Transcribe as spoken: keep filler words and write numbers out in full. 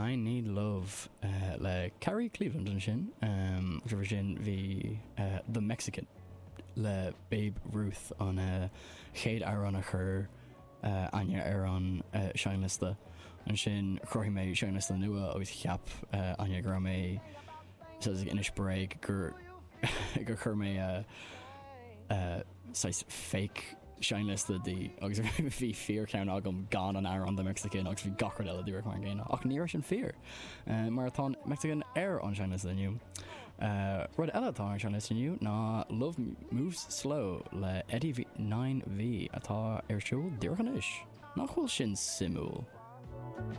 I Need Love uh, le Carrie Cleveland ansin um, roimhe sin bhí uh, The Mexican le Babe Ruth an uh, chéad amhrán a chuir uh, Aine ar an uh, seinnliosta ansin chruthaigh mé seinnliosta nua agus cheap uh, Aine go raibh mé ag inis bréag gur gur chuir mé uh, uh, saghas fake seinnliosta di agus bhí fíorcheann agam gan an amhrán The Mexican agus bhí gach rud eile díreach mar an gcéanna ach ní raibh sin fíor uh, mar tá Mexican ar an seinnliosta inniu. Uh, rud eile atá ar seinnliosta inniu ná Love Moves Slow le Eddie nine V atá ar siúl díreach anois. Nach bhfuil sin suimiúil.